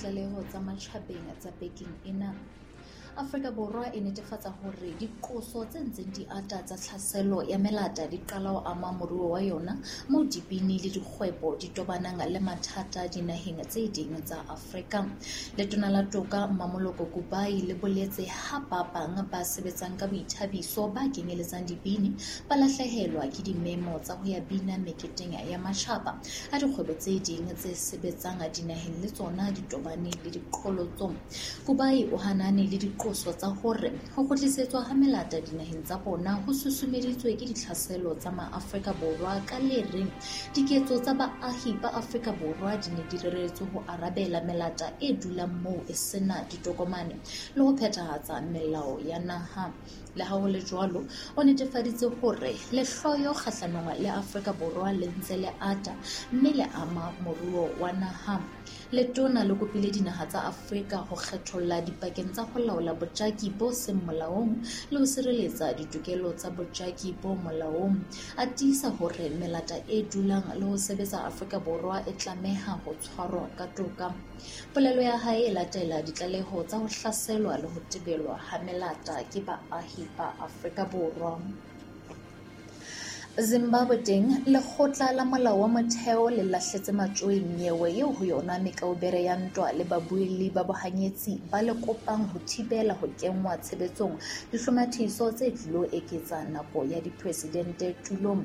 Ditlaleho tsa matjhabeng tsa bekeng ena. Afrika Borwa e netefatsa hore diqoso tse ntseng di ata tsa tlhaselo ya melata di qala ho ama moruo wa yona, moo dibini le dikgwebo di tobanang le mathata dinaheng tse ding tsa Afrika. Letona la Toka Mmamoloko Kubayi le boletse ha ba bang ba sebetsang ka boithabiso ba kenyeletsang dibini ba lahlehelwa ke dimemo tsa ho ya bina meketeng ya matjhaba, ha dikgwebo tse ding tse sebetsang dinaheng le tsona di tobane le diqholotso. Kubayi o hanane le diqoso tsa hore ho kgutlisetswa ha melata dinaheng tsa bona ho susumeditswe ke ditlhaselo tsa Maafrika Borwa ka le reng diketso tsa baahi ba Afrika Borwa di ne di reretswe ho arabela melata e dulang moo e sena ditokomane le ho phethahatsa melao ya naha. Le ha ho le jwalo, o netefaditse hore lehloyo kgahlanong le Afrika Borwa le ntse le ata mme le ama moruo wa naha. Letona le kopile dinaha tsa Afrika ho kgetholla dipakeng tsa ho laola bojaki bo seng molaong le ho sireletsa ditokelo tsa bojaki bo molaong. A tiisa hore melata e dulang le ho sebetsa Afrika Borwa e tlameha ho tshwarwa ka toka. Polelo ya hae e latela ditlaleho tsa ho hlaselwa le ho tebelwa ha melata ke baahi ba Afrika Borwa. Zimbabwe teng, lekgotla la molao wa motheo le lahletse matjoing nyewe eo ho yona mekaubere ya ntwa le babuelli ba bohanyetsi ba le kopang ho thibela ho kenngwa tshebetsong dihlomathiso tse tlilo eketsa nako ya dipresidente tulong.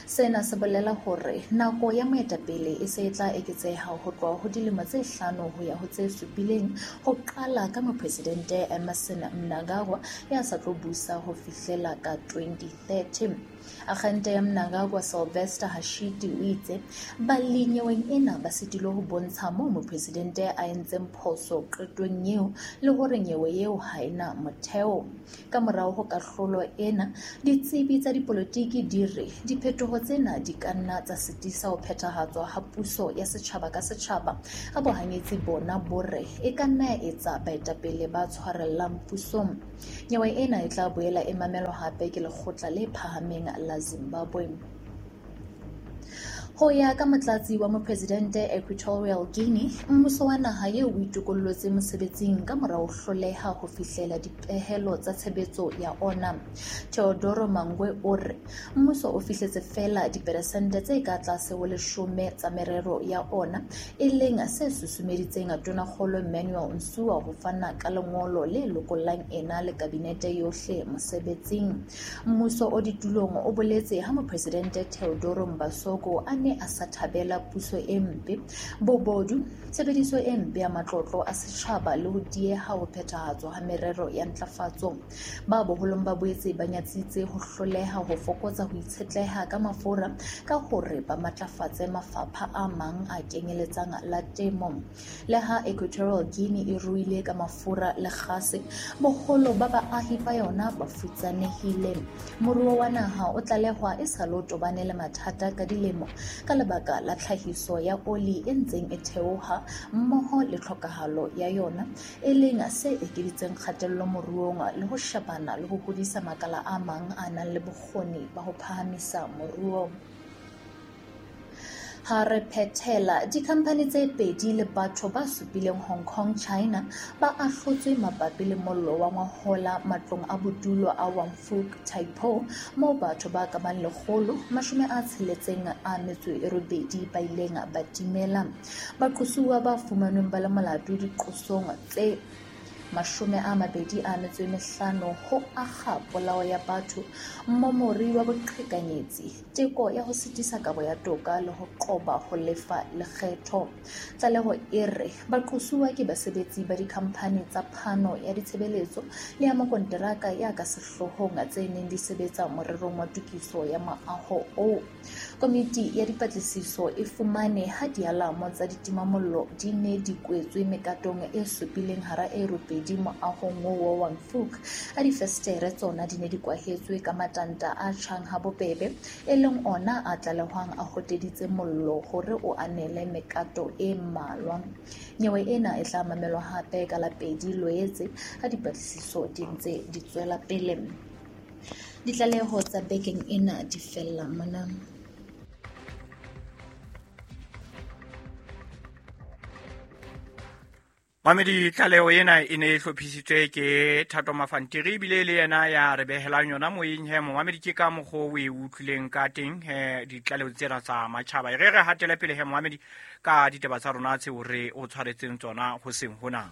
Sena se bolela hore nako ya moetapele e se e tla eketseha ho tloha ho dilemo tse hlano ho ya ho tse supileng, ho qala ka mopresidente Emmerson Mnangagwa ya sa tlo busa ho fihlela ka 2030. Akgente ya Mnangagwa Sylvester Hashiti o itse balli nyeweng ena ba sitilwe ho bontsha moo mopresidente a entseng phoso qetong eo le hore nyewe eo ha e na motheo. Ka morao ho kahlolo ena, ditsebi tsa dipolotiki di re diphetoho tsena di ka nna tsa sitisa ho phethahatswa ha puso ya setjhaba ka setjhaba, ha bohanyetsi bona bo re e ka nna ya etsa baetapele ba tshwarellang pusong. Nyewe ena e tla boela e mamelwa hape ke Lekgotla le Phahameng la Zimbabwe. Ho ya ka motlatsi wa mopresidente Equatorial Guinea, mmuso wa naha eo o itokollotse mosebetsing ka mora ho hloleha ho fihlela dipehelo tsa tshebetso ya ona. Teodoro Mangwe o re mmuso o fihletse feela diperesente tse ka tlase ho leshome tsa merero ya ona, e leng se susumeditseng Tonakgolo Manuel Nsua ho fana ka lengolo le lokollang ena le kabinete yohle mosebetsing. Mmuso o ditulong o boletse ha Mopresidente Teodoro Mbasogo a ne a sa thabela puso e mpe, bobodu, tshebediso e mpe ya matlotlo a setjhaba le ho dieha ho phethahatswa ha merero ya ntlafatso. Ba boholong ba boetse ba nyatsitse ho hloleha ho fokotsa ho itshetleha ka mafura ka hore ba matlafatse mafapha a mang a kenyeletsang la temo. Le ha Equatorial Guinea e ruile ka mafura le kgase, boholo ba baahi ba yona ba futsanehile. Moruo wa naha o tlalehwa e sa le o tobane le mathata ka dilemo ka lebaka la tlhahiso ya oli e ntseng e theoha mmoho le tlhokahalo ya yona, e leng se ekeditseng kgatello moruong le ho shebana le ho hodisa makala a mang a nang le bokgoni ba ho phahamisa moruo. Ha re phethela, dikhamphani tse pedi le batho ba supileng Hong Kong, China, ba ahlotswe mabapi le mollo wa ngwahola matlong a bodulo a Wang Fuk, Tai Po, moo batho ba ka bang 168 ba ileng ba timela. Baqosuwa ba fumanweng ba le molato diqosong tse 25 ho akga polao ya batho, mmomori wa boqhekanyetsi, teko ya ho sitisa kabo ya toka le ho qoba ho lefa lekgetho. Tlaleho e re baqosuwa ke basebetsi ba dikhamphani tsa phano ya ditshebeletso le ya makonteraka ya ka sehloohong tse neng di sebetsa morerong wa tokiso ya moaho oo. Komiti ya dipatlisiso e fumane ha dialamo tsa ditimamollo di ne di kwetswe mekatong e supileng hara e robedi moahong oo wa Wang Fuk, ha difestere tsona di ne di kwahetswe ka matanta a tjhang ha bobebe, e leng ona a tlalehwang a hoteditse mollo hore o anele mekato e mmalwa. Nyewe ena e tla mamelwa hape ka la 2 Loetse ha dipatlisiso di ntse di tswela pele. Ditlaleho tsa bekeng ena di fella mona. Mamedi, tlaleho ena e ne e hlophisitswe ke Thato Mafantiri, ebile le yena ya re behelang yona moyeng. He momamedi, ke ka mokgwa o e utlwileng ka teng he ditlaleho tsena tsa matjhaba. E re re hatele pele he momamedi ka ditaba tsa rona tseo re o tshwaretseng tsona hoseng hona.